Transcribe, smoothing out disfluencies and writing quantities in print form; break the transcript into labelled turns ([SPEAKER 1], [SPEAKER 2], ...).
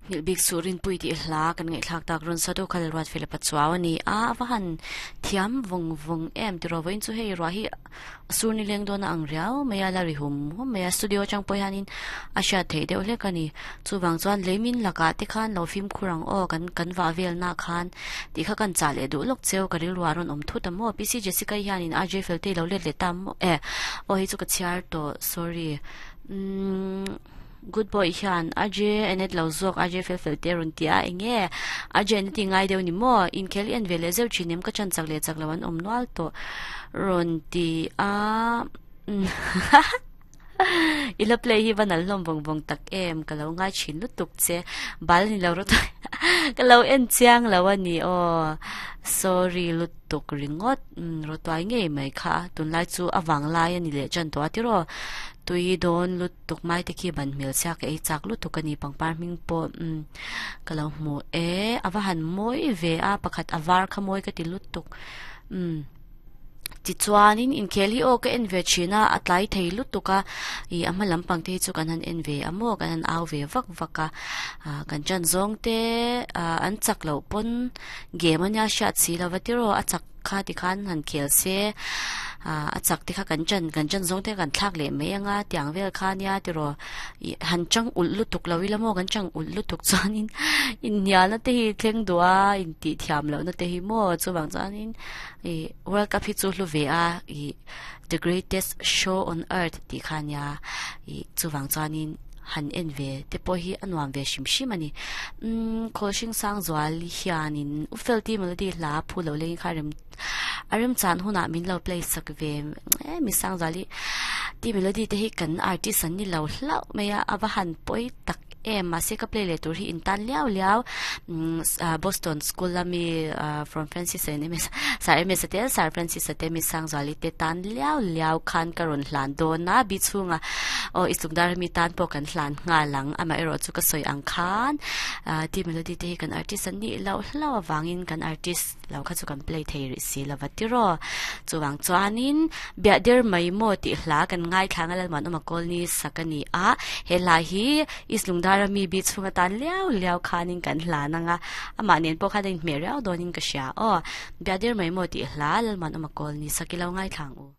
[SPEAKER 1] Nghilh bik suh rinpui tih hla kan ngaihthlak tak rawn sa deuh kha Lalruat Philip a chuau a ni a, a va han thiam vawng vawng em tiraw vawiin chu hei ruah hi a sur ni leng dawn a ang riau mai a, la ri hum hum mai a, studio atang pawh hianin a hriat theih deuh hlek a ni. Chuvang chuan leimin lakah te khan lo fimkhur ang aw kan kan vah velna khan tih kha kan chah leh duh lawk cheu ka rilru ah rawn awm thut a maw PC Jessica i hianin RJ Feltei lo let leh ta maw e aw hei chu ka chhiar tawh sorry umm. Good boy hian RJ Anet lo zawk RJ fel fel te a rawn ti a, enge RJ Anet i ngai deuh ni maw? Inkhel i en ve leh zeuh thin em ka chan chak leh chak lo an awm nual tawh rawn ti a I la play hi va nal hlawm vawng vawng tak em ka lo ngai thin lutuk che bal ni lo rawt ka lo en chiang lo a ni aw sorry lutuk ringawt rawtuai ngei mai kha tunlai chu a vanglai a ni leh tan tawh a tiraw tui dawn lutuk. Tukmai te khi ban hmel chhiak ka ei chak lutuk a ni pangpar hming pawh umm ka lo hmu e a va han mawi ve a pakhat a var kha mawi ka ti lutuk umm tichuanin inkhel hi aw ka en ve thin a a tlai thei lutuk a ih a hma lampang te hi chu kan han en ve a maw kan han au ve vak vak a ah kan chan zawng te ah an chak loh pawn game ania hriat si lova tiraw a chak. Kha ti khan han khel se ah a chak te kha kan chan kan chan zawng te kan thlak leh mai anga tiang vel kha nia tiraw ih han chang ulh lutuk lo ila maw kan chang ulh lutuk chuanin inhnialna te hi thleng duh a intih thiam lohna te hi maw chuvang chuanin ih world cup hi chu hlu ve a ih the greatest show on earth tih kha nia ih chuvang chuanin han en ve te pawh hi a nuam ve hrim hrim a ni umm khawl hring sang zual hianin u felty melody hla phu lo leng kha rem a remchan hunah min lo play sak ve em mi sang zual hi ti melody te hi kan artist an ni lo hlauh mai a a va han pawi tak em mahse ka play leh tur hi in tan liau liau umm Boston school ami from Francis and M S Sir M S a te Sir Francis a te mi sang zual hi te tan liau liau khan ka rawn hlan dawn a bi chhungah Aw i chungdar mi tan pawh kan hlan nghal ang, amaherawh chu ka sawi ang khan T Melody te hi kan artist an nih loh hlauh avangin kan artist lo kha chu kan play thei rih si lova tiraw. Chuvang chuanin Biahdir mai maw tih hla kan ngaithla ang a Lalmuanawma Kawlni sak a ni a, he hla hi East Lungdara mi bi chhung atan liau liau khanin kan hlan ang a, amah nen pawh khan a inhmeh riau dawnin ka hria aw. Biahdir mai maw tih hla Lalmuanawma Kawlni sak i lo ngaithla ang u.